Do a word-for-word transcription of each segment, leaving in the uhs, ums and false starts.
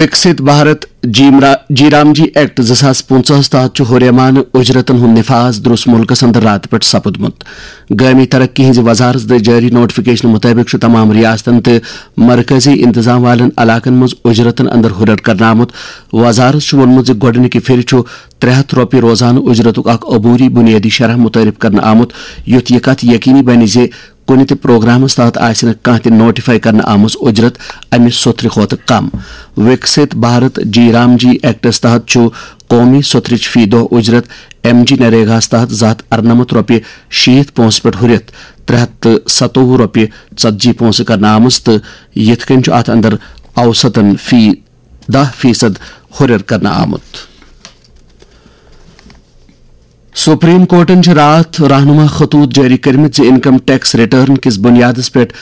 وکسِت بھارت جیمرا-، جی رام جی act زٕ ساس پٕنٛژٕہَس تحت چھُ ہُریمانہٕ اُجرتن ہُنٛد نفاذ درُس مُلکس اندر راتہٕ پٮ۪ٹھ سپُدمُت۔ گٲمی ترقی ہٕنٛزِ وزارت دٔسۍ جٲری نوٹیفکیشن مُطٲبِق چھُ تمام ریاستن تہٕ مرکزی انتظام والٮ۪ن علاقن منٛز اُجرتن اندر ہُرٮ۪ر کرنہٕ آمُت۔ وزارت چھُ ووٚنمُت زِ گۄڈٕنِکہِ پھِرِ چھُ ترٛےٚ ہَتھ رۄپیہِ روزانہٕ اُجرتُک اکھ عبوری بُنیٲدی شرح مُتعارف کرنہٕ آمُت، یُتھ یہِ کتھ یقینی بنہِ زِ کُنہِ تہِ پروگرامس تحت آسہِ نہٕ کانٛہہ تہِ نوٹیفائی کرنہٕ آمٕژ اُجرت امہِ سوٚتھرِ کھۄتہٕ کم۔ وکسِت بھارت جی رام جی ایکٹس تحت چھُ قومی سوٚتھرٕچ فی دۄہ اُجرت ایم جی نریگاہس تحت زٕ ہَتھ اَرنَمَتھ رۄپیہِ شیٖتھ پونٛسہٕ پٮ۪ٹھ ہُرِتھ ترٛےٚ ہَتھ تہٕ سَتووُہ رۄپیہِ ژتجی پونٛسہٕ کرنہٕ آمٕژ، تہٕ یِتھ کٔنۍ چھُ اتھ اندر اوسطن فی دَہ فیصد ہُرٮ۪ر کرنہٕ آمُت۔ سپریم کورٹن چھِ راتھ رہنما خطوط جٲری کٔرمٕتۍ زِ انکم ٹیکس ریٹرن کِس بُنیادس پٮ۪ٹھ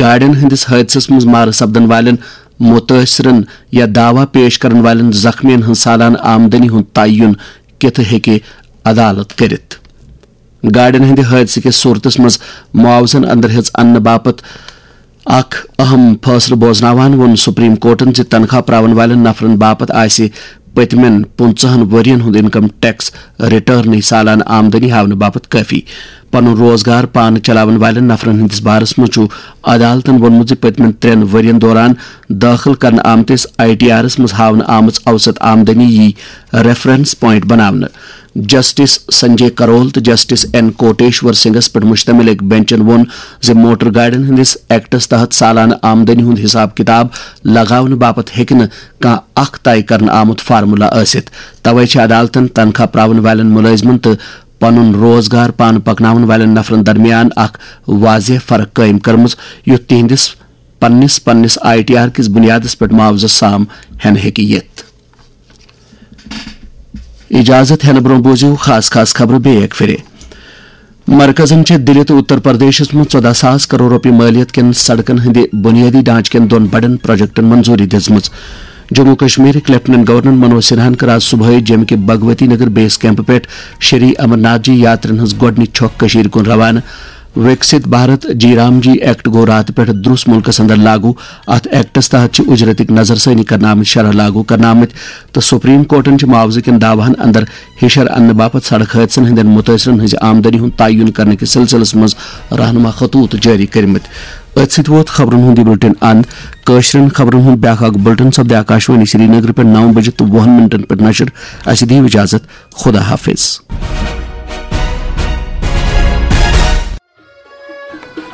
گاڑٮ۪ن ہٕنٛدِس حٲدثس منٛز مارٕ سپدن والٮ۪ن مُتٲثرن یا دعویٰ پیش کرن والٮ۪ن زخمیَن ہٕنٛز سالانہٕ آمدنی ہُنٛد تعین کِتھ ہیٚکہِ عدالت کٔرِتھ۔ گاڑٮ۪ن ہٕنٛدِ حٲدثہٕ کِس صورتس منٛز معاوضن اندر ہیٚژ اننہٕ باپتھ اکھ اہم فٲصلہٕ بوزناوان ووٚن سپریم کورٹن زِ تنخواہ پراون والٮ۪ن نفرن باپتھ آسہِ پٔتمٮ۪ن پٕنٛژٕہَن ؤرین ہُنٛد انکم ٹیکس ریٹرنٕے سالانہٕ آمدنی ہاونہٕ باپتھ کٲفی۔ پنُن روزگار پانہٕ چلاون والٮ۪ن نفرن ہٕنٛدِس بارس منٛز چھُ عدالتن ووٚنمُت زِ پٔتمٮ۪ن ترٛٮ۪ن ؤرین دوران دٲخل کرنہٕ آمتِس آئی ٹی آرس منٛز ہاونہٕ آمٕژ اوسط آمدنی یی ریفرنس پوائنٹ بناونہٕ۔ جسٹس سنجے کرول تہٕ جسٹس این کوٹیشور سنگھس پٮ۪ٹھ مشتمل أکۍ بینچن ووٚن زِ موٹر گاڑٮ۪ن ہٕنٛدِس ایکٹس تحت سالانہٕ آمدنی ہُنٛد حساب کتاب لگاونہٕ باپتھ ہیٚکہِ نہٕ کانٛہہ اکھ طے کرنہٕ آمُت فارمولا ٲسِتھ۔ توے چھِ عدالتن تنخواہ پراون والٮ۪ن مُلٲزمن تہٕ پنُن روزگار پانہٕ پکناون والٮ۪ن نفرن درمیان اکھ واضح فرق قٲیِم کٔرمٕژ، یُتھ تِہنٛدِس پننِس پننِس آئی ٹی آر کِس بُنیادس پٮ۪ٹھ معاوضہٕ سام ہٮ۪نہٕ ہیٚکہِ یِتھ۔ اجازت ہٮ۪نہٕ برٛونٛہہ بوٗزِو خاص خاص خبرٕ بیٚیہِ اکہِ پھِرِ۔ مرکزن چھِ دِلہِ تہٕ اُتر پردیشس منٛز ژۄداہ ساس کرور رۄپیہِ مٲلیت کٮ۪ن سڑکن ہٕنٛدِ بُنیٲدی ڈھانچہٕ کٮ۪ن دۄن بڑٮ۪ن پروجیکٹن منظوٗری دِژمٕژ۔ جموں کشمیرٕکۍ لیفٹیننٹ گورنر منوج سنہاہن کٔر آز صبحٲے جیٚمہِ کہِ بھگوتی نگر بیس کیمپ پٮ۪ٹھ شری امرناتھ جی یاترین ہٕنٛز گۄڈٕنِچ چھۄکھ کٔشیٖرِ کُن روانہٕ۔ وِکسِت بھارت جی رام جی ایکٹ گوٚو راتہٕ پٮ۪ٹھ درُس مُلکس اندر لاگو۔ اتھ ایکٹس تحت چھِ اُجرتٕکۍ نظرثٲنی کرنہٕ آمٕتۍ شرح لاگو کرنہٕ آمٕتۍ تہٕ سپریم کورٹن چھِ معاوضہٕ کٮ۪ن دعواہن اندر ہِشر اننہٕ باپتھ سڑک حٲدثن ہٕنٛدٮ۪ن مُتٲثرن ہٕنٛزِ آمدنی ہُنٛد تعین کرنہٕ کِس سلسلس منٛز رہنما خطوط جٲری کٔرمٕتۍ۔ أتھۍ سۭتۍ ووت خبرن ہُنٛد یہِ بُلٹن اند۔ کٲشرٮ۪ن خبرن ہُنٛد بیٛاکھ اکھ بُلٹن سپدِ آکاشوانی سرینگر پٮ۪ٹھ نَو بجہِ تہٕ وُہن منٹن پٮ۪ٹھ نشر۔ اسہِ دِیِو اجازت۔ خدا حافظ۔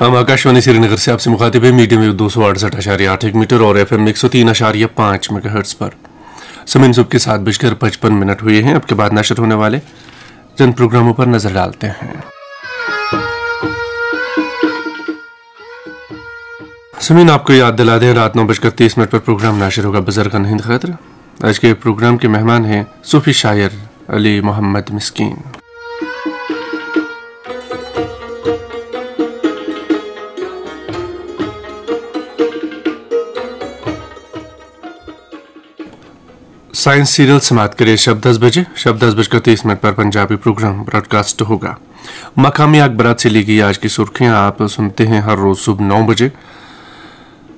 ہم آکاشوانی سری نگر سے آپ سے مخاطب ہیں، میڈیم ویو دو سو اڑسٹھ اشاریہ آٹھ ایک میٹر اور ایف ایم ایک سو تین اشاریہ پانچ میگا ہرٹز پر۔ سمین صبح کے سات بجکر پچپن منٹ ہوئے ہیں۔ اب کے بعد نشر ہونے والے چند پروگراموں پر نظر ڈالتے ہیں۔ سمین آپ کو یاد دلا دیں، رات نو بجکر تیس منٹ پر پروگرام نشر ہوگا بزرگن ہند خاطر۔ آج کے پروگرام کے مہمان ہیں صوفی شاعر علی محمد مسکین۔ سائنس سیریل سماعت کرے شب دس بجے، شب دس بج کر تیس منٹ پر پنجابی پروگرام براڈکاسٹ ہوگا۔ مقامی اخبارات سے لی گئی آج کی سرخیاں آپ سنتے ہیں ہر روز صبح نو بجے۔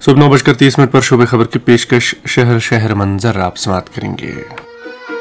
صبح نو بج کر تیس منٹ پر شعبے خبر کی پیشکش شہر شہر منظر آپ سماعت کریں گے۔